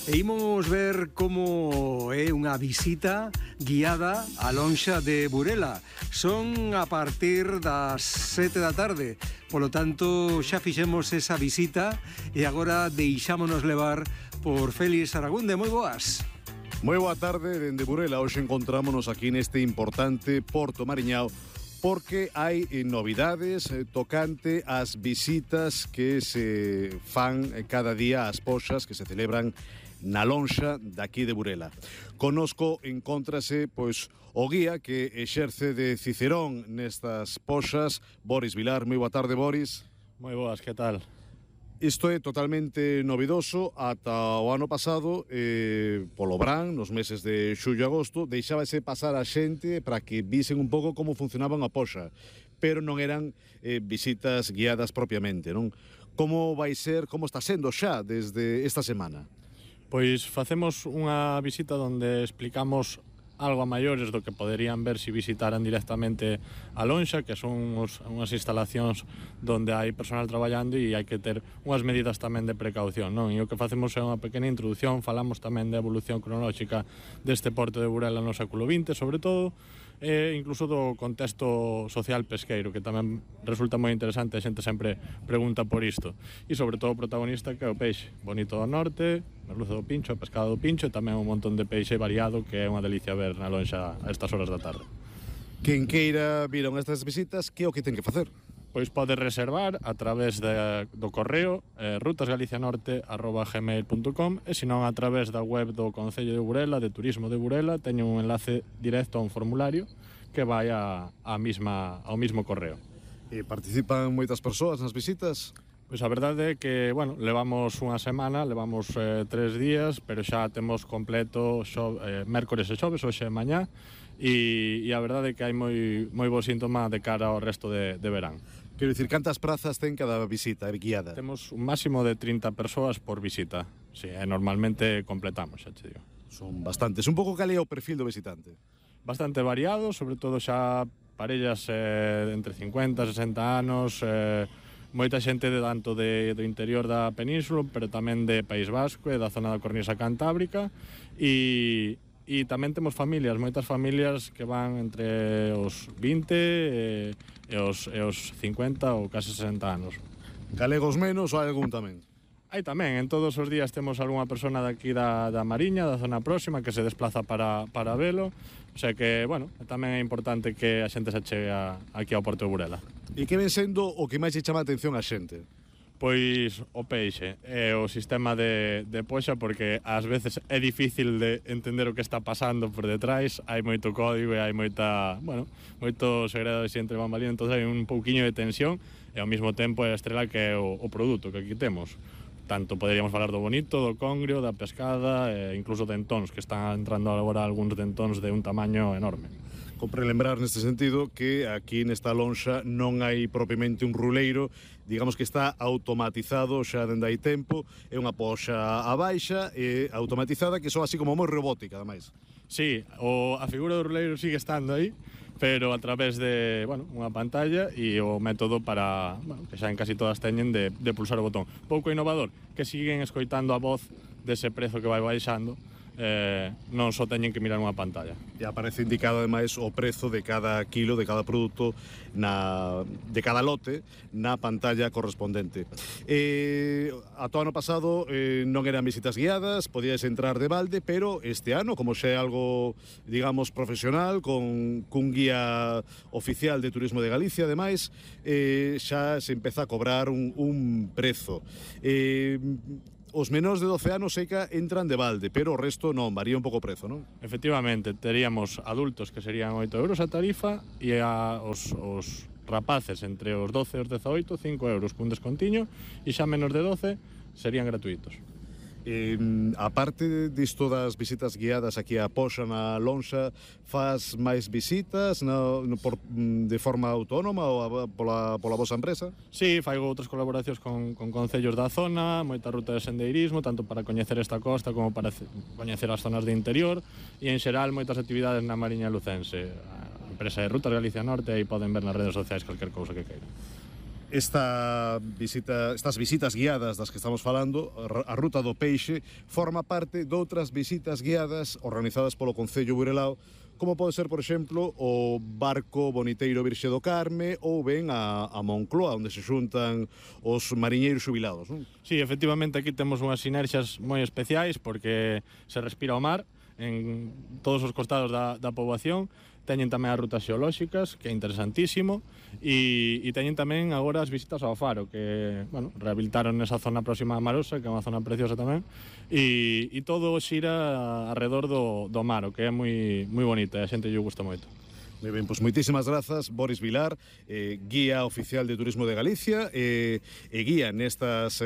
e imos ver como é unha visita guiada á lonxa de Burela. Son a partir das 7 da tarde, polo tanto xa fixemos esa visita e agora deixámonos levar por Félix Aragunde. Moi boas. Moi boa tarde, dende Burela. Hoxe encontrámonos aquí neste importante Porto Mariñao porque hai novidades tocante ás visitas que se fan cada día ás poxas que se celebran na lonxa daqui de Burela. Conosco encóntrase pois o guía que exerce de Cicerón nestas poxas, Boris Vilar. Moi boa tarde, Boris. Moi boas, que tal? Isto é totalmente novidoso. Ata o ano pasado, polo verán, nos meses de xullo e agosto, deixábase pasar a xente para que visen un pouco como funcionaban a poxa, pero non eran visitas guiadas propiamente, non? Como vai ser, como está sendo xa desde esta semana? Pois facemos unha visita onde explicamos algo a maiores do que poderían ver se visitaran directamente a lonxa, que son unhas instalacións onde hai personal traballando e hai que ter unhas medidas tamén de precaución, non? E o que facemos é unha pequena introducción, falamos tamén da evolución cronolóxica deste porto de Burela no século XX, sobre todo, e incluso do contexto social pesqueiro, que tamén resulta moi interesante, a xente sempre pregunta por isto. E sobre todo o protagonista, que é o peixe bonito do norte, merluzo do pincho, a pescada do pincho, e tamén un montón de peixe variado que é unha delicia ver na lonxa a estas horas da tarde. Quen queira vir a estas visitas, que é o que ten que facer? Pois pode reservar a través do correo rutasgalicianorte@gmail.com e senón a través da web do Concello de Burela, de Turismo de Burela, teño un enlace directo a un formulario que vai ao mismo correo. E participan moitas persoas nas visitas? Pois a verdade é que, bueno, levamos unha semana, levamos 3 días, pero xa temos completo mércores e xoves, hoxe e mañá, e a verdade é que hai moi bo síntoma de cara ao resto de verán. Quero dicir, cantas prazas ten cada visita guiada? Temos un máximo de 30 persoas por visita. Sí, normalmente completamos, xa te digo. Son bastantes. Un pouco cal é o perfil do visitante? Bastante variado, sobre todo xa parellas entre 50 e 60 anos, moita xente tanto do interior da península, pero tamén de País Vasco e da zona da Cornisa Cantábrica, e tamén temos familias, moitas familias que van entre os 20 e os 50 ou case 60 anos. Galegos menos ou hai algún tamén? Hai tamén, en todos os días temos algunha persona daqui da Mariña, da zona próxima, que se desplaza para velo, o sea que, bueno, tamén é importante que a xente se chegue aquí ao Porto de Burela. E que ven sendo o que máis lle chama a atención a xente? Pois o peixe e o sistema de poxa, porque ás veces é difícil de entender o que está pasando por detrás, hai moito código e hai moito segredo entre bambalinas, entón hai un pouquiño de tensión e ao mesmo tempo é a estrela que é o produto que aquí temos. Tanto poderíamos falar do bonito, do congrio, da pescada e incluso dentóns, que están entrando agora algúns dentóns de un tamaño enorme. Compre lembrar neste sentido que aquí nesta lonxa non hai propiamente un ruleiro, digamos que está automatizado xa dende hai tempo, é unha poxa a baixa e automatizada que son así como moi robótica, ademais. Sí, a figura do ruleiro sigue estando aí, pero a través de, unha pantalla e o método para, que xa en casi todas teñen de pulsar o botón. Pouco innovador, que siguen escoitando a voz dese prezo que vai baixando, non só teñen que mirar unha pantalla. E aparece indicado ademais o prezo de cada kilo, de cada produto, de cada lote na pantalla correspondente. Ata o ano pasado non eran visitas guiadas, podías entrar de balde, pero este ano, como xa é algo, digamos, profesional, cun guía oficial de Turismo de Galicia, ademais, xa se empeza a cobrar un prezo. Os menores de 12 anos seca entran de balde, pero o resto non, varía un pouco o prezo, non? Efectivamente, teríamos adultos que serían 8 euros a tarifa e os rapaces entre os 12 e os 18, 5 euros cun descontiño, e xa menos de 12 serían gratuitos. A parte disto das visitas guiadas aquí a poxa na lonxa, faz máis visitas de forma autónoma ou pola vosa empresa? Sí, faigo outras colaboracións con concellos da zona, moita ruta de sendeirismo, tanto para coñecer esta costa como para coñecer as zonas de interior, e en xeral moitas actividades na Mariña Lucense. A empresa de Rutas Galicia Norte, aí poden ver nas redes sociais calquer cousa que queiran. estas visitas guiadas das que estamos falando, a Ruta do Peixe, forma parte de outras visitas guiadas organizadas polo Concello Burelao, como pode ser, por exemplo, o barco boniteiro Virxe do Carme ou ben a Moncloa, onde se xuntan os mariñeiros xubilados, non? Sí, efectivamente, aquí temos unhas sinerxias moi especiais porque se respira o mar en todos os costados da poboación. Teñen tamén as rutas xeolóxicas, que é interesantísimo, e teñen tamén agora as visitas ao faro, que, bueno, rehabilitaron esa zona próxima a Marosa, que é unha zona preciosa tamén, e todo xira alrededor do mar, o que é moi bonito, e a xente lle gusta moito. Moi ben, pois moitísimas grazas, Boris Vilar, guía oficial de Turismo de Galicia e guía nestas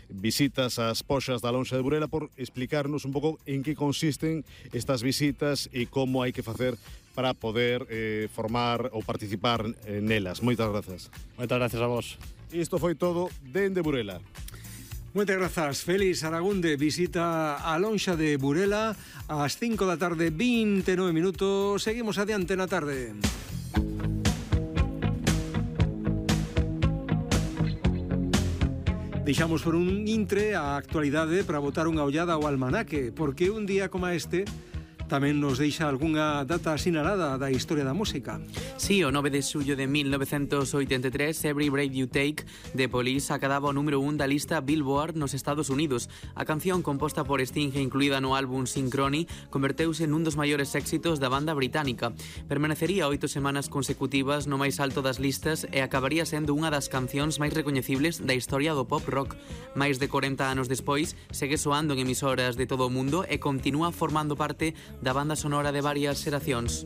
visitas ás poxas da Lonxa de Burela, por explicarnos un pouco en que consisten estas visitas e como hai que facer para poder formar ou participar nelas. Moitas grazas. Moitas gracias a vos. Isto foi todo dende Burela. Moitas grazas, Félix Aragunde. Visita a Lonxa de Burela ás 5 da tarde, 29 minutos. Seguimos adiante na tarde. Deixamos por un intre a actualidade para botar unha ollada ao almanaque, porque un día como este tamén nos deixa algunha data sinalada da historia da música. Sí, o 9 de xullo de 1983, Every Breath You Take de Police acadaba o número 1 da lista Billboard nos Estados Unidos. A canción, composta por Sting e incluída no álbum Synchrony, converteuse nun dos maiores éxitos da banda británica. Permanecería 8 semanas consecutivas no máis alto das listas e acabaría sendo unha das cancións máis recoñecibles da historia do pop rock. Máis de 40 anos despois, segue soando en emisoras de todo o mundo e continúa formando parte da banda sonora de varias xeracións.